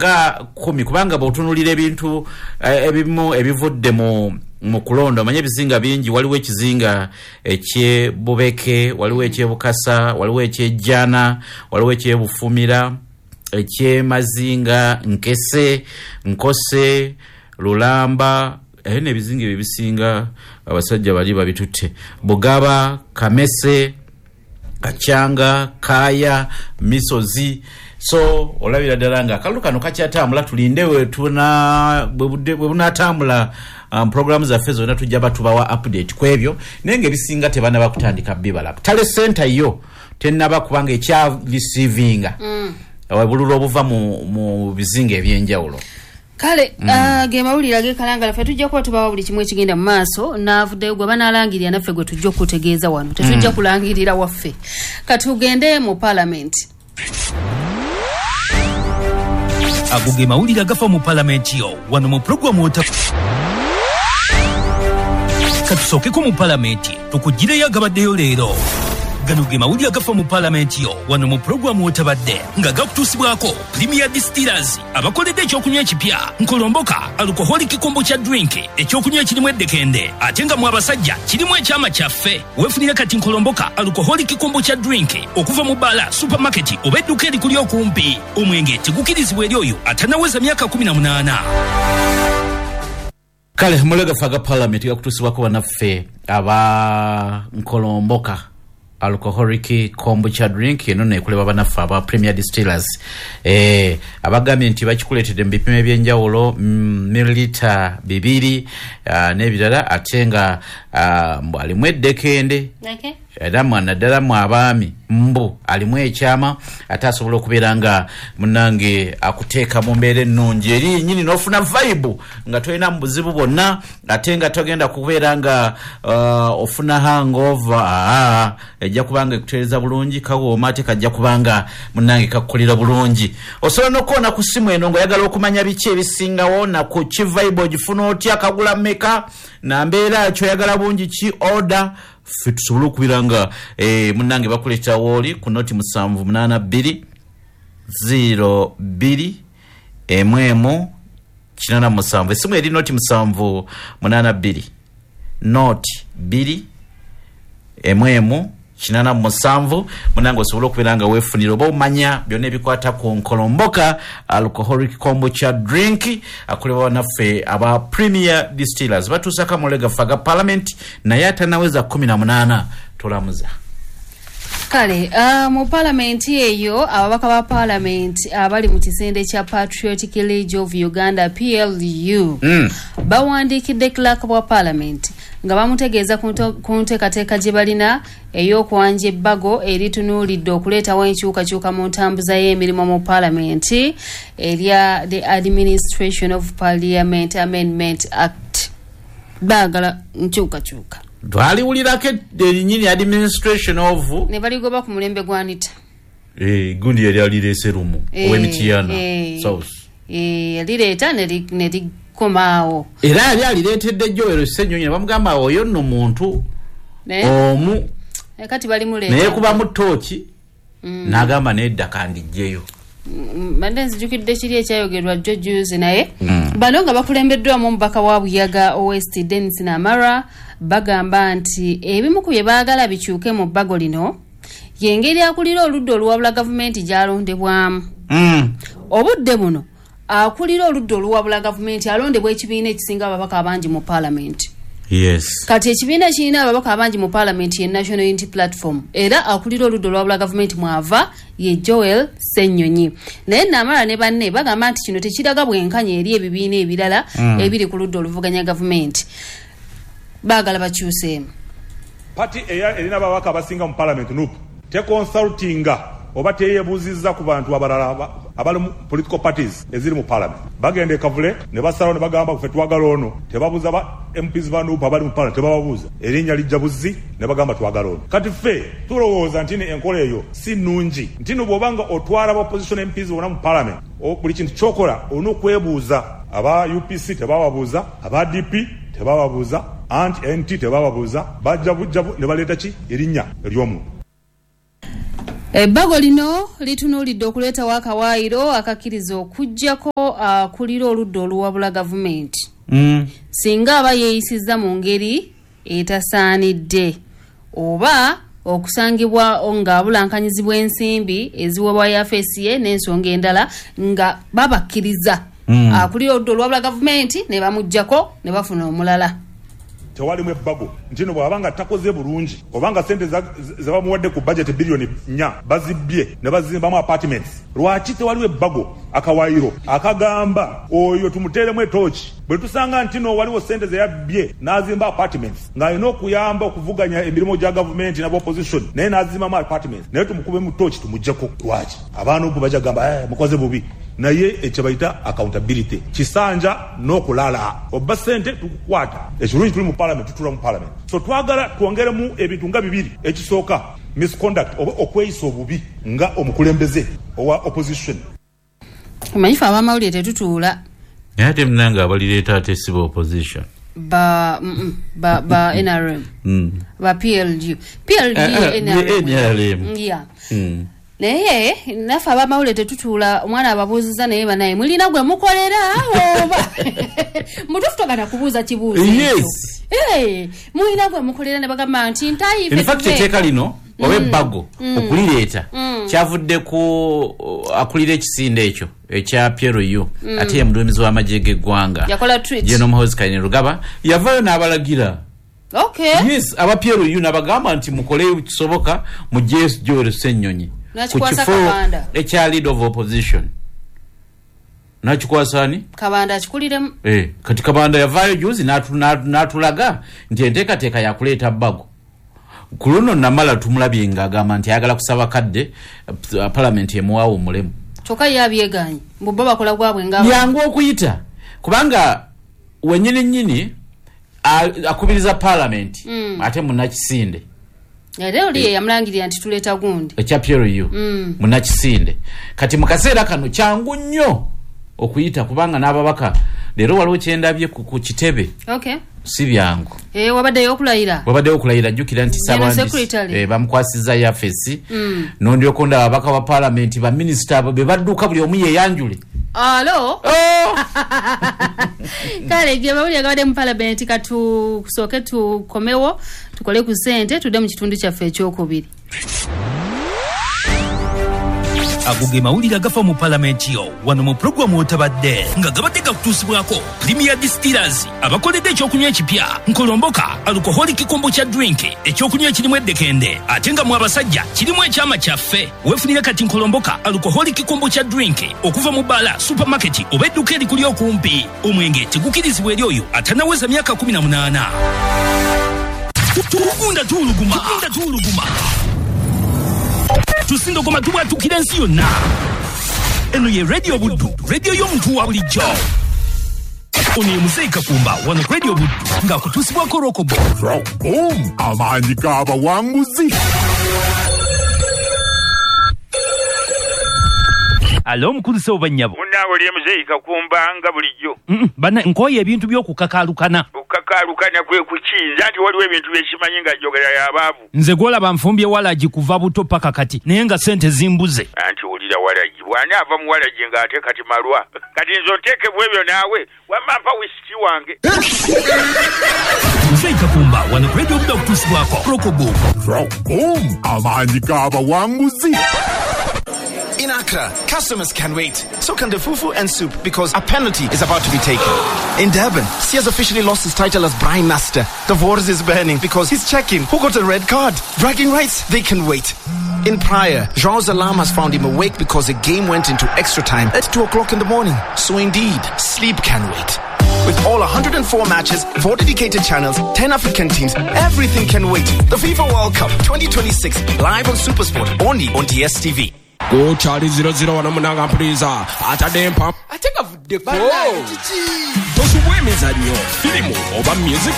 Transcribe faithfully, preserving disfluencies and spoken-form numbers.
Nga kumi, kubanga bw'otunuulira ebintu eh, ebimu ebivudde mu mu kulonda, omanye ebizinga bingi. Waliwo ekizinga ekyebubeke, waliwo ekyebukasa, waliwo ekyejjana, waliwo ekyebufumira, ekyemazinga, Nkese, Nkose, Lulamba. Aye nebizinga ebyo ebisinga abasajja bali babitutte. Bugaba, Kamese, Kacyanga, Kaya, Misozi. So olabira ddala nga akalulu kano kakyatambula. Tulinde wetuna bwe bunatambula. um, programu zaffe zonna tujja batubawa update ku ebyo, naye nga ebisinga tebanaba kutandika bibala. Tally center yo tenaba, kubanga ekya receivinga mm. obululu obuva mu, mu bizinga ebyenjawulo. Kale mm. uh, ge mawulire agekalangala. Ffe tujja kuba tubawa buli kimu ekigenda mu maaso. Naavuddeyo gwe banaalangirira, naffe gwe tujja okutegeeza wano. Tetujja mm. kulangirira waffe. Katugende mu palamenti. Ago ge mawulire agafa mu palamenti yo wano mu puroguramu ota. Katusookeko mu palamenti tukugireyo agabaddeyo leero. Gano ge mawulire agafa mu palamenti yo wano mu puroguramu otabadde, nga gakutuusibwako Premier Distillers, abakoledde ekyokunywa ekipya Nkolomboka Alcoholic Kombucha Drink, ekyokunywa ekirimu eddekende ate nga mu abasajja kirimu ekyama kyaffe. Weefunire kati Nkolomboka Alcoholic Kombucha Drink okuva mu bbaala, supermarket oba edduka erikuli okumpi. Omwenge tegukirizibwa eri oyo atanaweza myaka kumi na munaana. Kale mulega aga parliament gakutuusibwako bannaffe aba Nkolomboka Alcoholic Kombucha Drink. Eno nekuleba bannaffe aba Premier Distillers, eh, abagambye nti bakikuleetedde mu bipimo ebyenjawulo, mm, mililita bibiri uh, n'ebirala, ate nga uh, mbu alimu eddekende okay. era naddala mu abaami mbu alimu ekyama, ate asobola okubeera nga munange akuteeka mu mbeera ennungi eri nyini n'ofuna vibe nga tolina mu buzibu bwonna, ate nga togenda kubeera nga uh, ofuna hangover. Aa, ejja kubanga ekutereeza bulungi, kawooma, ate kajja kubanga munange kakukolera bulungi. Osobola n'okukoona ku ssimu eno ng'oyagala okumanya biki ebisingawo naku ki vibe ogifuna otya, kagula mmeka, na mbeera ki, oyagala bungi ki, order, ffe tusobole okubeera nga eh, munange bakuleeta wooli ku noti musanvu munaana bbiri ziro bbiri emu emu kinaana musanvu. Esimu eri noti musanvu munaana bbiri noti bbiri emu emu kinaana musanvu. Munange osobole okubeera nga weefunira oba omanya byonna ebikwata ku Nkolomboka Alcoholic Kombucha Drink, akolebwa naffe aba Premier Distillers. Batuusako amawulire gaffe aga parliament, naye atanaweza kumi na munaana tolamuza. Kale uh, mu palamenti eyo, ababaka ba palamenti abali mu kisinde kya Patriotic League of Uganda, P L U, mm. bawandiikidde clerk bwa palamenti nga bamutegeeza ku nto- ku nteekateeka gye balina ey'okwanja ebbago eritunuulidde okuleetawo enkyukakyuka mu ntambuza y'emirimu mu palamenti, erya the Administration of Parliament Amendment Act. Baagala nkyukakyuka. Twaliwulirako erinyini Administration of Ne baligoba ku mulembe gwa Anita. eh, gundi yali alireese lumu Eh, ow'Emityana eh. South. Eh, yalireeta ne li- ne likomaawo. Era yali alireetedde Joel Ssenyonyi ne bamugamba oyo nno muntu Naye omu eh, kati balimuleeta. Naye kubamu tooki n'agamba nedda, kandijjeyo. Mm, mbadde nzijukidde kiri ekyayogerwa jjo juzi. Naye bano nga bakulembeddwamu omubaka wa Buyaga West, Denis Namara, bagamba nti ebimu ku bye baagala bikyuke mu bbago lino yengeri akulira oludda oluwabula gavumenti gy'alondebwamu. Mm. Obudde buno akulira oludda oluwabula gavumenti alondebwa ekibiina ekisinga ababaka abangi mu paalamenti. Yes kati ekibiina ekirina ababaka abangi mu paalamenti ye National Unity Platform, era akulira oludda olwabula gavumenti mwava ye Joel Ssennyonyi. Naye Namala ne banne bagamba nti kino tekiraga bwenkanya eri ebibiina ebirala mm. ebiri ku ludda oluvuganya gavumenti. Baagala bakyuseemu. Party eya erina ababaka abasinga mu parliament, N U P, teconsultinga oba teyebuuzizza ku bantu abalala aba- abali mu political parties eziri mu parliament. Bagenda e Kavule ne basalawo ne bagamba ffe twagala ono. Tebabuuza ba M Ps ba N U P abali mu parliament, tebababuuza. Erinnya lijja buzzi ne bagamba twagala ono. Kati ffe tulowooza nti ne enkola eyo si nnungi, nti no bw'obanga otwala ba opposition M Ps bonna mu parliament, o- buli kintu kyokola olina okwebuuza. Aba U P C tebababuuza, aba D P tebababuuza, anti N T tebababuuza. Bajja bujja bu- ne baleeta ki erinnya ery'omuntu. Ebbago lino litunuulidde okuleetawo akawaayiro akakkiriza okuggyako akulira oludda oluwabula gavumenti Mm. singa aba yeeyisizza mu ngeri etasaanidde oba okusangibwa ng'abulankanyizibwa ensimbi eziweebwa yafeesi ye n'ensonga endala nga babakkiriza Mm. akulira oludda oluwabula gavumenti ne bamuggyako ne bafuna omulala. Tewalimu ebbago nti no bw'aba nga takoze bulungi oba nga sente za- ze bamuwadde ku budget biliyoni nnya bazibbye ne bazimbamu apartments, lwaki tewaliwo ebbago akawaayiro akagamba oyo tumuteeremu etooki bwe tusanga nti no waliwo sente ze yabbye n'azimba apartments ng'alina okuyamba okuvuganya emirimu gya gavumenti n'aba opposition naye n'azimbamu apartments naye tumukubemu tooki tumuggyeko? Lwaki abaana obu bajja kugamba, "Eh, mukoze bubi"? Naye ekyo bayita accountability, kisanja n'okulala obba sente tukukwata. Ekirungi tuli mu parliament, tutula mu parliament, so twagala twongeremu ebintu nga bibiri. Ekisooka, misconduct oba okweyisa obubi nga omukulembeze owa opposition. Omanyi fe abamawulire tetutuula. Naye ate munange abalireeta ate siba opposition. Ba mm, mm, ba, ba N R M, Mm. ba P L U, P L U. Eh, eh, N R M. N R M. Yeah. Mm. Naye naffe abamawulire tetutuula. Omwana ababuuziza, naye banaye mulina gwe mukolera oba mutuufu togana kubuuza kibuuzo ekyo. Yes. Eh, mulina gwe mukolera? Ne bagamba nti ntayi. In fact, etteeka lino oba ebbago okulireeta kyavudde ku uh, akulira ekisinde ekyo ekya P L U, ate ye muduumizi w'amagye g'eggwanga. Yakola tweet. General Muhoozi Kainerugaba yavaayo n'abalagira, okay yes, aba P L U n'abagamba nti mukole kisoboka mugye Joel Ssennyonyi ku N'akikwasa kifo Kabanda. ekya leader of opposition. Nakikwasa ani? Kabanda akikuliremu. Eh, kati Kabanda yavaayo juzi n'atu- n'atu- n'atulaga nti enteekateeka yakuleeta bbago. Ku luno namala tumulabye ng'agamba nti ayagala kusaba kadde eh, palamenti emuwaawo omulemu. Kyokka ye abyeganye mbu bo bakola gwabwe nga Yangu okuyita kubanga wenyini nyini a- akubiriza palamenti Mm. ate munakisinde Era oli ye yamulangirira nti tuleeta gundi. Ekya P L U, Mm. munakisinde. Kati mu kaseera kano kyangu nnyo okuyita kubanga n'ababaka leero waliwo kyendabye ku ku kitebe. Okay Si byangu. Eh, wabaddeyo okulayira. Wabaddewo okulayira. Jjukira nti General Ssaabandi- Secretary. eh, bamukwasizza yafesi. Mm. Nondyoka ndaba ababaka ba palamenti, baminisita abo be badduka buli omu yeyanjule. Alo. Oh! Kale ge mawulire gabadde mu palamenti. Katusooke tukomewo tukole ku ssente, tudde mu kitundu kyaffe ekyokubiri. Ago ge mawulire agafa mu palamenti yo wano mu pulogulaamu Otabadde, nga gabadde gakutuusibwako Premier Distillers abakoledde ekyokunywa ekipya Nkolomboka Alcoholic Kombucha Drink, ekyokunywa ekirimu eddekende ate nga mu abasajja kirimu ekyama kyaffe. Weefunire kati Nkolomboka Alcoholic Kombucha Drink okuva mu bbaala, supermarket oba edduuka erikuli okumpi. Omwenge tegukirizibwa eri oyo atanaweza myaka kkumi na munaana. Tugunda tuwuluguma, tugunda tuwuluguma, tusindogoma, tubwatukira ensi yonna. Eno ye Radio Buddu, radio y'omuntu wa bulijjo. Ono ye Muzeyi Kakumba wano ku Radio Buddu ng'akutuusibwako Rokobo. Rockboom, amaanyi g'abawanguzi. Alo, omukulu sebo, bannyabo. Munnange, oli Muzeeyi Kakumba nga bulijjo. Bana nkooye ebintu by'okukakaalukana. Okukakaalukana kwe kukinza nti waliwo ebintu byekimanyi nga njogera y'abaavu. Nze gwolaba nfumbye walagi kuva buto paka kati, naye nga sente zimbuze. Anti wulira, walagi bw'ani ava mu walagi ng'ate kati malwa? Kati nze onteekebwa ebyo naawe, wamma mpa wisiki wange. Muzeeyi Kakumba wano ku Radio Buddu akutuusibwako Rokobo. Rockboom, amaanyi g'abawanguzi. In Accra, customers can wait. So can the fufu and soup, because a penalty is about to be taken. In Durban, Sia's officially lost his title as Braai Master. The wors is burning because he's checking who got a red card. Bragging rights, they can wait. In Praia, João's alarm has found him awake because the game went into extra time at two o'clock in the morning. So indeed, sleep can wait. With all one hundred four matches, four dedicated channels, ten African teams, everything can wait. The FIFA World Cup twenty twenty-six, live on SuperSport, only on D S T V. Gukyali zero zero wano munanga mpuliza atadde empa Ate gavuddeko. Tosubwa emizannyo, firimu oba music.